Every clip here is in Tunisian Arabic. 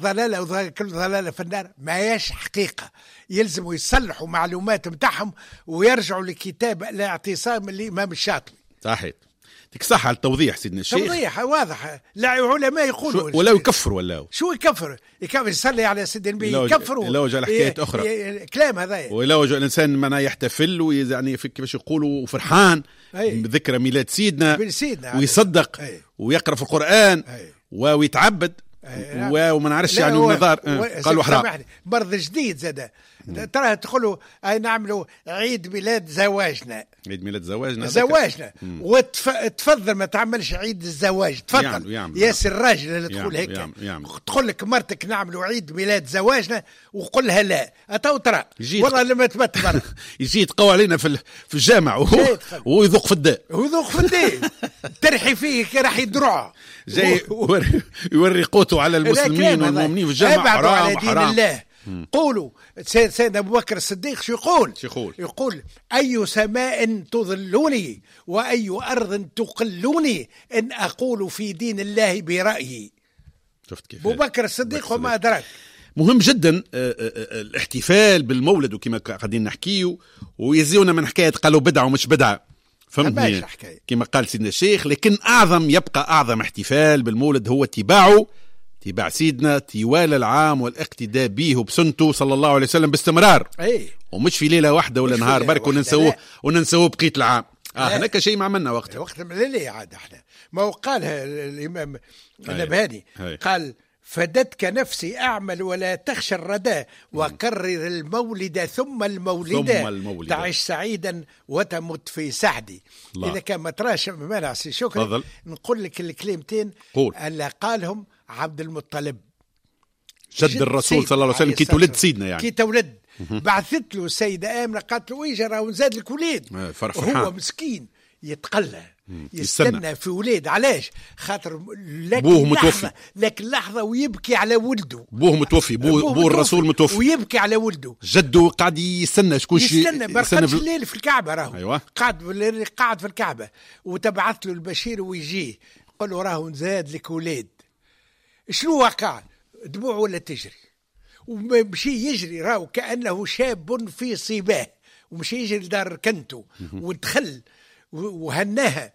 ضلالة وكل ضلالة في النار، ما هيش حقيقة. يلزموا يصلحوا معلومات متاعهم ويرجعوا لكتاب الاعتصام الإمام الشاطبي. صحيح، يعطيك الصحة على التوضيح سيدنا الشيخ. توضيح واضح، لا علماء يقولوا ولا يكفروا ولا شو يكفر؟ يكفر يصلي على سيدنا النبي يكفروا، يلوج على حكايات أخرى، كلام هذا. ويلوج الإنسان معناه يحتفل ويعني كيفاش يقولوا فرحان بذكرى ميلاد سيدنا ويصدق ويقرأ في القرآن ويتعبد وما نعرفش يعني النظر قالوا حرام. مرض جديد زاد ترى تقولوا اي نعملوا عيد ميلاد زواجنا، عيد ميلاد زواجنا زواجنا، وتفضل ما تعملش عيد الزواج، تفضل ياسر الراجل اللي تقول هيك، تقول لك مرتك نعملوا عيد ميلاد زواجنا وقول لها لا، اتو ترى والله لما تبت برا يجي يتقوى علينا في الجامع ويذوق في الداء، ويذوق في الداء ترحي فيه كي يدرعه، جاي يوري قوته على المسلمين والمؤمنين في الجامع. حرام على دين حرام. الله. قولوا سيدنا أبو بكر الصديق شو يقول؟ يقول أي سماء تظلني وأي أرض تقلني إن أقول في دين الله برأيي. شفت كيف؟ أبو بكر الصديق وما أدراك. مهم جدا الاحتفال بالمولد وكما قاعدين نحكيه، ويزيونا من حكاية قالوا بدعة ومش بدعة، فهمتني كما قال سيدنا الشيخ. لكن أعظم يبقى أعظم احتفال بالمولد هو اتباعه، اتباع سيدنا طوال العام والاقتداء به وبسنته صلى الله عليه وسلم باستمرار. أي. ومش في ليلة واحدة ولا نهار برك وننسوه بقية العام. هناك شيء ما عملنا وقتها. وقت لا عاد احنا ما هو قالها الإمام النبهاني، قال فدتك نفسي أعمل ولا تخشى الردى وكرر المولد ثم المولد تعيش سعيدا وتمت في سعدي. إذا كان ما تراش مانع سي شكرا نقول لك الكلمتين اللي قالهم عبد المطلب جد الرسول صلى الله عليه وسلم كي تولد سيدنا، يعني كي تولد بعثت له السيدة آمنة قالت له إيجا راهو نزاد لك وليد. هو مسكين يتقلى يستنى في وليد. علاش؟ خاطر بوه متوفي، لكن لحظة ويبكي على ولده. بوه متوفي، بو الرسول متوفي ويبكي على ولده. جده قاعد يستنى شكون يستنى، ما رقدش الليل في الكعبة راهو. أيوة. قاعد في الكعبة وتبعث له البشير ويجيه قال له راهو نزاد لك وليد. شنو وقع؟ دموعه ولا تجري، ومشي يجري راهو كأنه شاب في صباه، ومشي يجري لدار كنته ودخل وهناها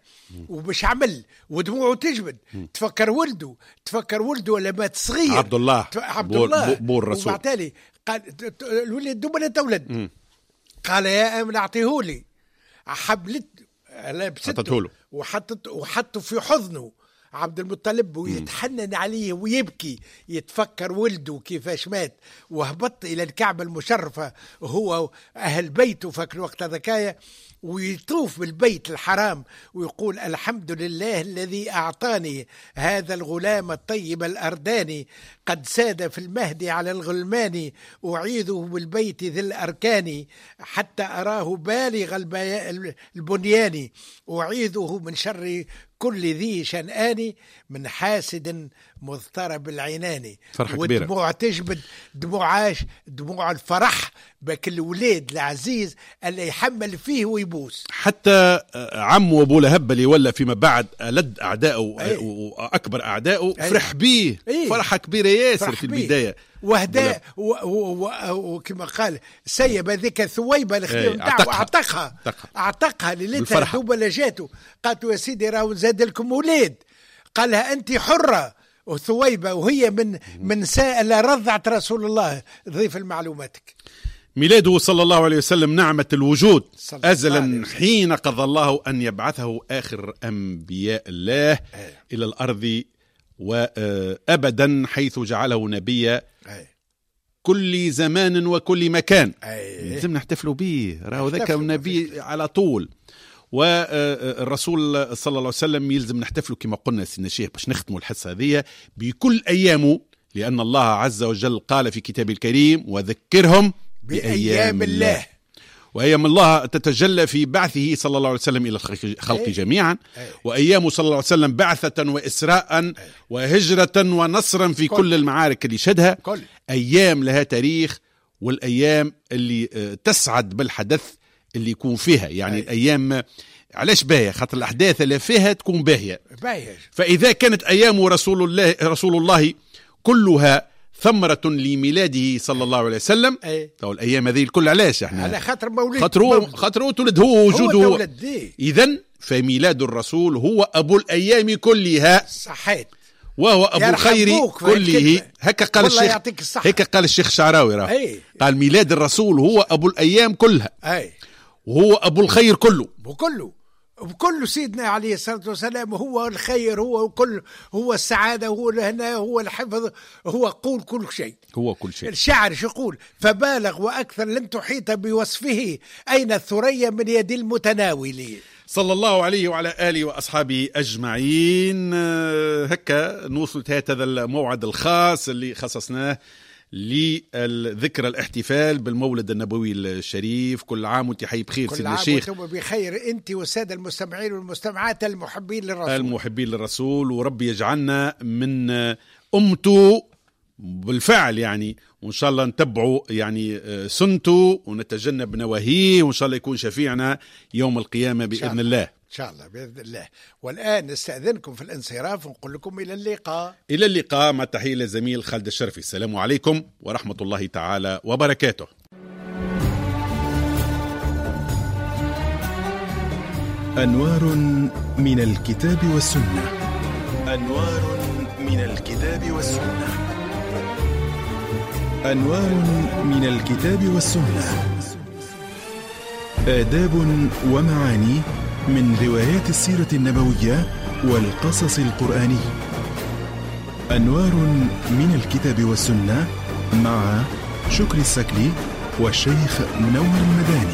ومش عمل ودموعه تجبد. تفكر ولده، تفكر ولده لما مات صغير عبد الله، عبد الله بو الرسول. وبعتالي قال الولد دوبنا تولد، قال يا امن اعطيهولي. حبلت لبسته وحطه في حضنه عبد المطلب ويتحنن عليه ويبكي، يتفكر ولده كيفاش مات. وهبط إلى الكعبة المشرفة هو أهل بيته فاك الوقت هذاكايا، ويطوف بالبيت الحرام ويقول الحمد لله الذي أعطاني هذا الغلام الطيب الأرداني، قد ساد في المهد على الغلمان، أعيذه بالبيت ذي الأركان، حتى أراه بالغ البنيان، أعيذه من شر كل ذي شنآن، من حاسد مضطرب العنان. فرحة كبيرة، ودموع تجبد، دموع دموع الفرح بك الولاد العزيز اللي يحمل فيه ويبوس. حتى عمه أبو لهب اللي ولا فيما بعد ألد أعدائه وأكبر أعدائه فرح بيه. فرحة كبيرة ياسر في البداية. وهدا وكما قال سيب هذيك ثويبة الخديم نتاعو، اعتقها اعتقها ليلتها دوبا لجاته. قالت يا سيدي راهو زاد لكم ولاد. قالها أنت حرة. وثويبة وهي من سائل رضعت رسول الله. ضيف لمعلوماتك، ميلاده صلى الله عليه وسلم نعمة الوجود أزلا حين قضى الله أن يبعثه آخر أنبياء الله إلى الأرض وأبدا، حيث جعله نبيا كل زمان وكل مكان. لازم نحتفلوا به، راهو ذاك النبي على طول. والرسول صلى الله عليه وسلم يلزم نحتفلوا كما قلنا سيدنا الشيخ باش نختموا الحصة هذه بكل أيامه، لأن الله عز وجل قال في كتابه الكريم وذكرهم بأيام الله. وأيام الله تتجلى في بعثه صلى الله عليه وسلم إلى الخلق جميعا، وأيامه صلى الله عليه وسلم بعثة وإسراء وهجرة ونصرا في كل المعارك اللي شهدها. أيام لها تاريخ، والأيام اللي تسعد بالحدث اللي يكون فيها. يعني الأيام علاش باهية؟ خاطر الأحداث اللي فيها تكون باهية. فإذا كانت أيام رسول الله كلها ثمرة لميلاده صلى الله عليه وسلم. تو الأيام هذه الكل علاش احنا؟ على خاطر مولد، خاطر هو تولد، هو وجوده. إذن فميلاد الرسول هو أبو الأيام كلها. صحيت. وهو أبو الخير كله. هكا قال الشيخ، هكا قال الشيخ الشعراوي راه. قال ميلاد الرسول هو أبو الأيام كلها. وهو أبو الخير كله. وكله سيدنا عليه الصلاة والسلام هو الخير، هو كل، هو السعادة، هو الهنا، هو الحفظ، هو قول كل شيء، هو كل شيء. الشاعر شو يقول؟ فبالغ وأكثر لن تحيط بوصفه، أين الثريا من يد المتناول. صلى الله عليه وعلى آله وأصحابه أجمعين. هكا نوصل هذا الموعد الخاص اللي خصصناه للذكرى الاحتفال بالمولد النبوي الشريف. كل عام وانت حي بخير سيدنا الشيخ. كل عام وانتم بخير انت والسادة المستمعين والمستمعات المحبين للرسول، المحبين للرسول، وربي يجعلنا من أمته بالفعل يعني، وإن شاء الله نتبعوا يعني سنته ونتجنب نواهيه، وإن شاء الله يكون شفيعنا يوم القيامة بإذن الله. إن شاء الله بإذن الله. والآن نستأذنكم في الانصراف ونقول لكم إلى اللقاء. إلى اللقاء، مع التحية للزميل خالد الشرفي. السلام عليكم ورحمة الله تعالى وبركاته. أنوار من الكتاب والسنة. أنوار من الكتاب والسنة. أنوار من الكتاب والسنة. آداب ومعاني من روايات السيرة النبوية والقصص القرآني. أنوار من الكتاب والسنة مع شكري السكلي والشيخ منور المداني.